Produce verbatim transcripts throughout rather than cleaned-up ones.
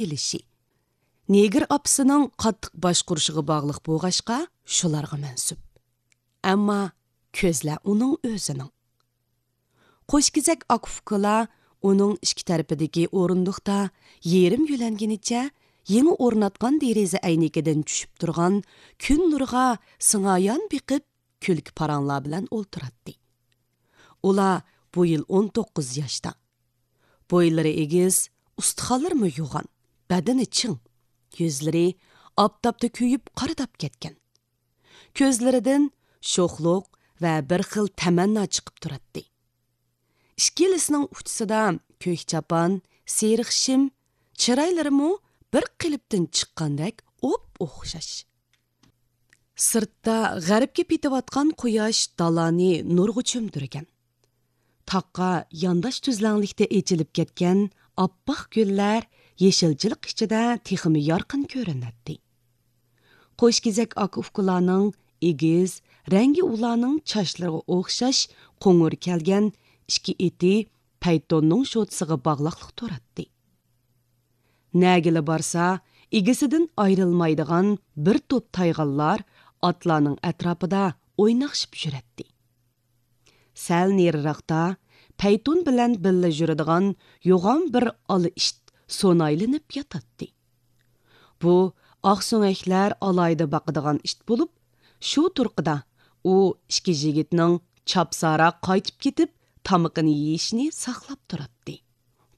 ئېلىشى، نېگىر ئاپىسىنىڭ قاتتىق باشقۇرۇشىغا باغلىق بولغاچقا، شۇلارغا مەنسۇپ. ئەمما كۆزلەر ئۇنىڭ ئۆزىنىڭ. قوشكېزەك ئاكا-ئۇكىلار ئۇنىڭ ئىككى تەرىپىدىكى ئورۇندۇقتا يېرىم يۆلەنگىنىچە يېڭى ئورناتقان دېرىزە ئەينىكىدىن چۈشۈپ تۇرغان كۈن نۇرىغا سىڭايان بېقىپ، كۈلكە پاراڭلار بىلەن ئولتۇراتتى. ئۇلار بۇ يىل ئون توققۇز ياشتا. بويلىرى ئېگىز، ئۇستىخانلىرىمۇ يوغان، بەدىنى چىڭ، يۈزلىرى ئاپتاپتا كۆيۈپ قارىداپ كەتكەن. كۆزلىرىدىن شوخلۇق ۋە بىر خىل تەمەننا چىقىپ تۇراتتى. ئىككىلىسىنىڭ ئۇچىسىدا كۆك چاپان، سېرىق شىم، چىرايلىرىمۇ بىر قېلىپتىن چىققاندەك ئوپئوخشاش. سىرتتا غەربكە پېتىۋاتقان قۇياش دالانى نۇرغا چۆمدۈرگەن. تاغقا يانداش تۈزلەڭلىكتە ئېچىلىپ كەتكەن ئاپئاق گۈللەر يېشىلچىلىق ئىچىدە تېخىمۇ يارقىن كۆرۈنەتتى. قوشكېزەك ئاكا-ئۇكىلارنىڭ ئېگىز، رەڭگى ئۇلارنىڭ چاچلىرىغا ئوخشاش قوڭۇر كەلگەن ئىككى ئېتى پەيتوننىڭ شوتىسىغا باغلاقلىق تۇراتتى. نەگىلا بارسا، ئىگىسىدىن ئايرىلمايدىغان بىر توپ تايغانلار ئاتلارنىڭ ئەتراپىدا ئويناشىپ يۈرەتتى. سەل نېرىراقتا پەيتۇن بىلەن بىللە يۈرىدىغان يوغان بىر ئالا ئىت سۇنايلىنىپ ياتاتتى. بۇ ئاقسۆڭەكلەر ئالاھىدە باقىدىغان ئىت بولۇپ، شۇ تۇرقىدا ئۇ ئىككى يىگىتنىڭ چاپساراق قايتىپ كېتىپ، تامىقىنى يېيىشىنى ساقلاپ تۇراتتى.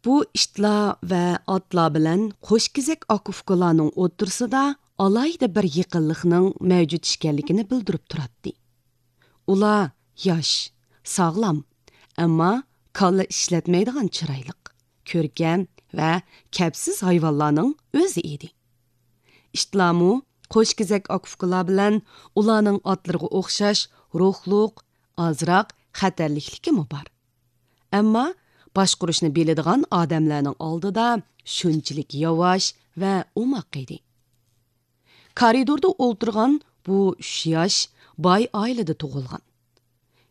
بۇ ئىتلار ۋە ئاتلار بىلەن قوشكېزەك ئاكا-ئۇكىلارنىڭ ئوتتۇرىسىدا ئالاھىدە بىر يېقىنلىقنىڭ مەۋجۇت ئىكەنلىكىنى بىلدۈرۈپ تۇراتتى. ئۇلار ياش، ساغلام، ئەمما كاللا ئىشلەتمەيدىغان چىرايلىق، كۆركەم ۋە كەپسىز ھايۋانلارنىڭ ئۆزى ئىدى. ئىتلارمۇ قوشكېزەك ئاكا-ئۇكىلار بىلەن ئۇلارنىڭ ئاتلىرىغا ئوخشاش روھلۇق، ئازراق خەتەرلىكلىكىمۇ بار. ئەمما باشقۇرۇشنى بىلىدىغان ئادەملەرنىڭ ئالدىدا شۇنچىلىك ياۋاش ۋە ئوماق ئىدى. كارىدوردا ئولتۇرغان بۇ ئۈچ ياش باي ئائىلىدە تۇغۇلغان.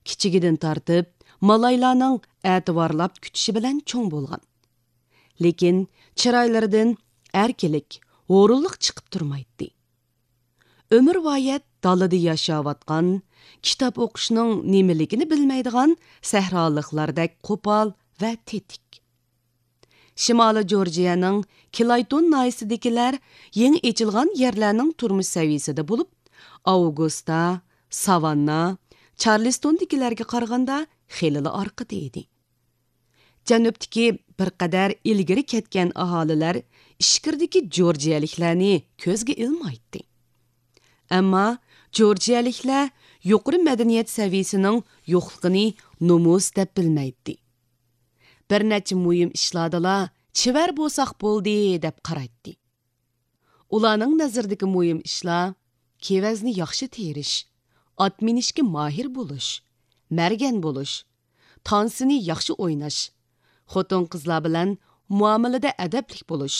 كىچىكىدىن تارتىپ مالايلارنىڭ ئەتىۋارلاپ كۈتۈشى بىلەن چوڭ بولغان. لېكىن چىرايلىرىدىن ئەركىنلىك، ھۇرۇنلۇق چىقىپ تۇرمايتتى. ئۆمۈرۋايەت دالىدا ياشاۋاتقان، كىتاب ئوقۇشنىڭ نېمىلىكىنى بىلمەيدىغان سەھرالىقلاردەك قوپال ۋە تېتىك. شىمالىي جورجىيەنىڭ كلايتون ناھىيەسىدىكىلەر يېڭى ئېچىلغان يەرلەرنىڭ تۇرمۇش سەۋىيەسىدە بولۇپ، ئاۋگۇستا، ساۋاننا، چارلىستوندىكىلەرگە قارىغاندا خېلىلا ئارقىدا ئىدى. جەنۇبتىكى بىر قەدەر ئىلگىرى كەتكەن ئاھالىلەر ئىچكىرىدىكى جورجىيەلىكلەرنى كۆزگە ئىلمايتتى. ئەمما جورجىيەلىكلەر يۇقىرى مەدەنىيەت سەۋىيەسىنىڭ يوقلۇقىنى نومۇس دەپ بىلمەيتتى. بىر نەچچە مۇھىم ئىشلاردىلا چېۋەر بولساق بولدى دەپ قارايتتى. ئۇلارنىڭ نەزىرىدىكى مۇھىم ئىشلار كېۋەزنى ياخشى تېرىش، ئات مىنىشكە ماھىر بولۇش، مەرگەن بولۇش، تانسىنى ياخشى ئويناش، خوتۇن-قىزلار بىلەن مۇئامىلىدە ئەدەپلىك بولۇش،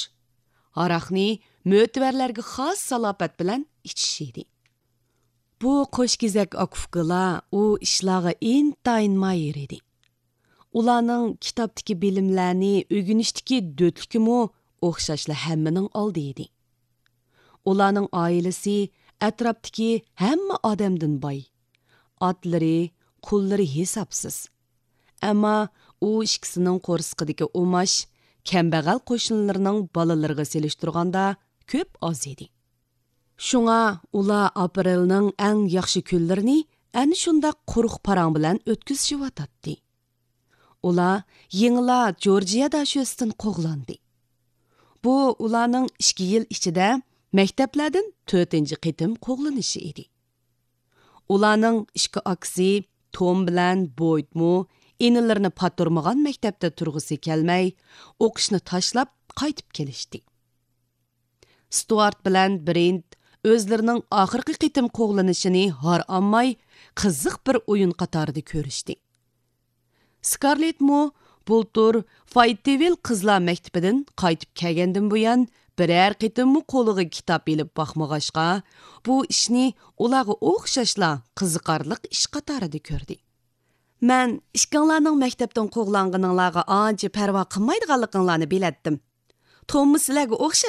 ھاراقنى مۆتىۋەرلەرگە خاس سالاپەت بىلەن ئىچىش ئىدى. بۇ قوشكېزەك ئاكا-ئۇكىلار ئۇ ئىشلارغا ئىنتايىن ماھىر ئىدى. ئۇلارنىڭ كىتابتىكى بىلىملەرنى ئۆگىنىشتىكى دۆتلۈكىمۇ ئوخشاشلا ھەممىنىڭ ئالدى ئىدى. ئۇلارنىڭ ئائىلىسى ئەتراپتىكى ھەممە ئادەمدىن باي. ئاتلىرى، قۇللىرى ھېسابسىز. ئەمما ئۇ ئىككىسىنىڭ قورسىقىدىكى ئۇماش كەمبەغەل قوشنىلىرىنىڭ بالىلىرىغا سېلىشتۇرغاندا كۆپ ئاز ئىدى. شۇڭا ئۇلار ئاپرېلنىڭ ئەڭ ياخشى كۈنلىرىنى ئەنە شۇنداق قۇرۇق پاراڭ بىلەن ئۆتكۈزۈشۈۋاتاتتى. ئۇلار يېڭىلا جورجىيە داشۆسىدىن قوغلاندى. بۇ ئۇلارنىڭ ئىككى يىل ئىچىدە مەكتەپلەردىن تۆتىنچى قېتىم قوغلىنىشى ئىدى. ئۇلارنىڭ ئىككى ئاكىسى توم بىلەن بويدمۇ ئىنىلىرىنى پاتۇرمىغان مەكتەپتە تۇرغۇسى كەلمەي، ئوقۇشنى تاشلاپ قايتىپ كېلىشتى. ستۇئارت بىلەن برېنت ئۆزلىرىنىڭ ئاخىرقى قېتىم قوغلىنىشىنى ھارئانماي، قىزىق بىر ئويۇن قاتارىدا كۆرۈشتى. سكارلېتمۇ بۇلتۇر فايتىۋىل قىزلار مەكتىپىدىن قايتىپ كەلگەندىن بۇيان، بىرەر قېتىممۇ قولىغا كىتاب ئېلىپ باقمىغاچقا، بۇ ئىشنى ئۇلارغا ئوخشاشلا قىزىقارلىق ئىش قاتارىدا كۆردى. مەن ئىككىڭلارنىڭ مەكتەپتىن قوغلانغىنىڭلارغا ئانچە پەرۋا قىلمايدىغانلىقىڭلارنى بىلەتتىم. توممۇ سىلەرگە ئوخشاش.